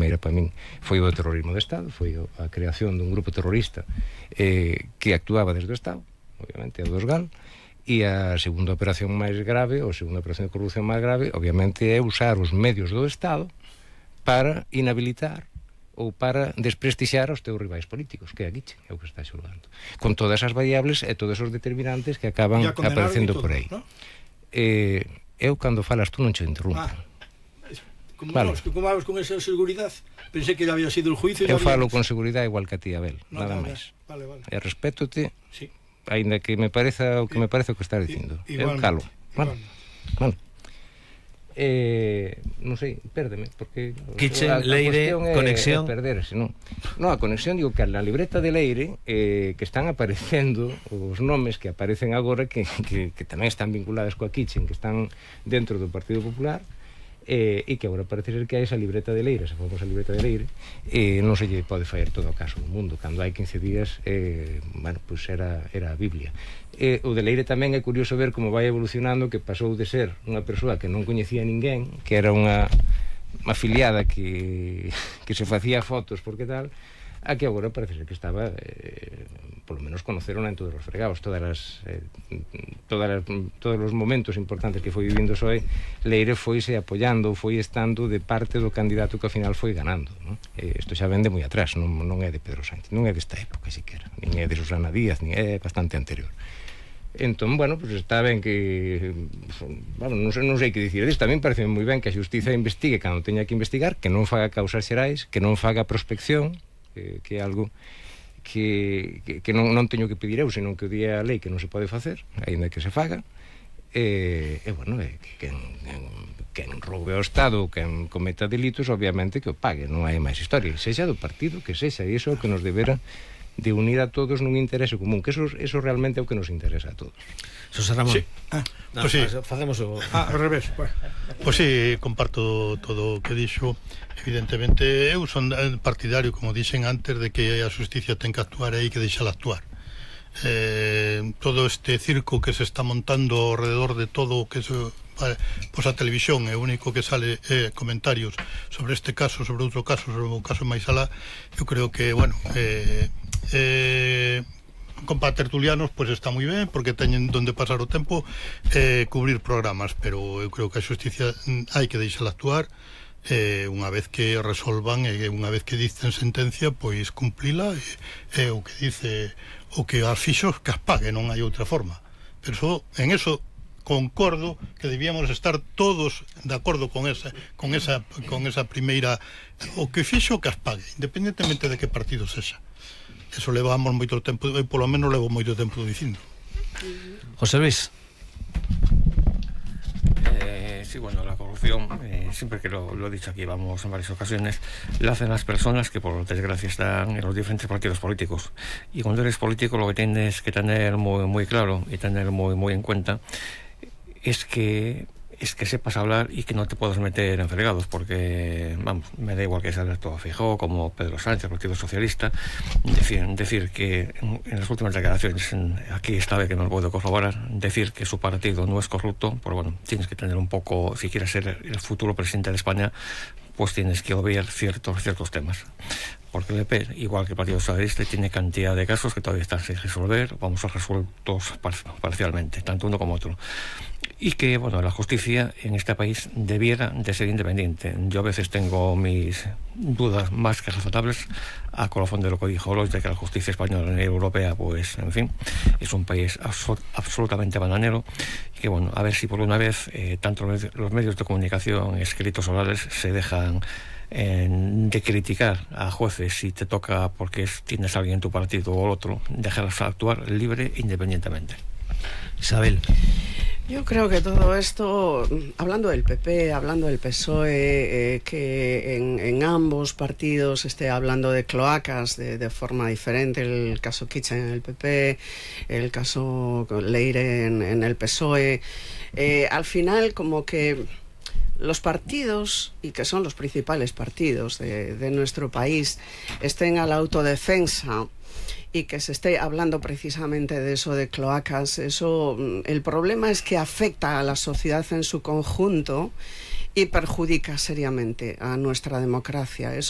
primeira para min foi o terrorismo de Estado, foi a creación dun grupo terrorista que actuaba desde o Estado, obviamente a dos GAL, e a segunda operación máis grave, ou a segunda operación de corrupción máis grave, obviamente é usar os medios do Estado para inhabilitar ou para desprestixiar os teus rivais políticos, que é a Guiche, é o que está xulgando, con todas as variables e todos os determinantes que acaban aparecendo por aí, ¿no? Eu, cando falas tú, non che interrumpo. Como vamos con esa seguridade? Pensei que ya había sido el juicio. Eu falo con seguridade igual que a ti, Abel, nada máis. E respétote, aínda que me pareza o que me parece o que estás dicindo. Eu calo. Bueno. Non sei, pérdeme, porque Kitchen, Leire, conexión perderse, non, a conexión, digo que na libreta de Leire que están aparecendo os nomes que aparecen agora que tamén están vinculados coa Kitchen, que están dentro do Partido Popular, e que agora parece ser que hai esa libreta de Leire, esa famosa libreta de Leire, non se lle pode fallar todo o caso do mundo. Cando hai 15 días bueno, pues era a Biblia. O de Leire tamén é curioso ver como vai evolucionando, que pasou de ser unha persoa que non coñecía ninguén, que era unha afiliada que se facía fotos porque tal, a que agora parece ser que estaba polo menos conoceron en todos os fregados, todos os momentos importantes que foi vivindo Soe. Leire foise apoiando, foi estando de parte do candidato que ao final foi ganando, ¿no? Isto xa vende moi atrás, non é de Pedro Sánchez, non é desta época siquiera, nin é de Susana Díaz, nin é bastante anterior. Entón, bueno, pues está ben que non sei que dicir disto. Tamén parece moi ben que a xustiza investigue cando teña que investigar, que non faga causas xerais, que non faga prospección, que é algo que non teño que pedir eu, senón que o día a lei que non se pode facer, aínda que se faga, bueno, quen roube ao Estado, quen cometa delitos, obviamente que o pague, non hai máis historia, sexa do partido que sexa, e iso é o que nos debera de unir a todos nun interese común, que eso realmente é o que nos interesa a todos. José Ramón. Sí. Pues sí. Facemos o... ao revés. Pois sí, comparto todo o que dixo. Evidentemente, eu son partidario, como dixen antes, de que a xusticia ten que actuar e hai que deixala actuar. Todo este circo que se está montando alrededor de todo o que pois a televisión é o único que sale comentarios sobre este caso, sobre outro caso, sobre o caso máis alá. Eu creo que, bueno, con tertulianos pois está moi ben, porque teñen donde pasar o tempo, cubrir programas, pero eu creo que a xusticia hai que deixala actuar, unha vez que resolvan e unha vez que dicen sentencia, pois cumplila, e o que dice o que as fixos que as pague, non hai outra forma. Pero en eso concordo que debíamos estar todos de acordo con esa primeira, o que fixo que as pague, independentemente de que partido sexa. Eso levamos moito tempo, e polo menos levo moito tempo dicindo. José Luis. Sí, bueno, la corrupción, siempre que lo he dicho aquí, vamos en varias ocasiones, la hacen las personas que por desgracia están en los diferentes partidos políticos. Y cuando eres político lo que tienes que tener muy, muy claro y tener muy, muy en cuenta es que sepas hablar y que no te puedas meter en fregados, porque, vamos, me da igual que sea Alberto Feijóo como Pedro Sánchez, Partido Socialista, decir que en las últimas declaraciones, aquí esta vez que no lo puedo corroborar, decir que su partido no es corrupto, pues bueno, tienes que tener un poco, si quieres ser el futuro presidente de España, pues tienes que obviar ciertos temas. Porque el EP, igual que el Partido Socialista, tiene cantidad de casos que todavía están sin resolver, vamos a resueltos parcialmente, tanto uno como otro. Y que, bueno, la justicia en este país debiera de ser independiente. Yo a veces tengo mis dudas más que razontables a colofón de lo que dijo Lois, de que la justicia española y europea, pues, en fin, es un país absolutamente bananero. Y que, bueno, a ver si por una vez tanto los medios de comunicación escritos orales se dejan de criticar a jueces si te toca porque tienes a alguien en tu partido o el otro, dejarlas actuar libre e independientemente. Isabel. Yo creo que todo esto, hablando del PP, hablando del PSOE, que en ambos partidos esté hablando de cloacas de forma diferente, el caso Kitchen en el PP, el caso Leire en el PSOE, al final como que los partidos, y que son los principales partidos de nuestro país, estén a la autodefensa y que se esté hablando precisamente de eso, de cloacas. Eso, el problema es que afecta a la sociedad en su conjunto y perjudica seriamente a nuestra democracia. Eso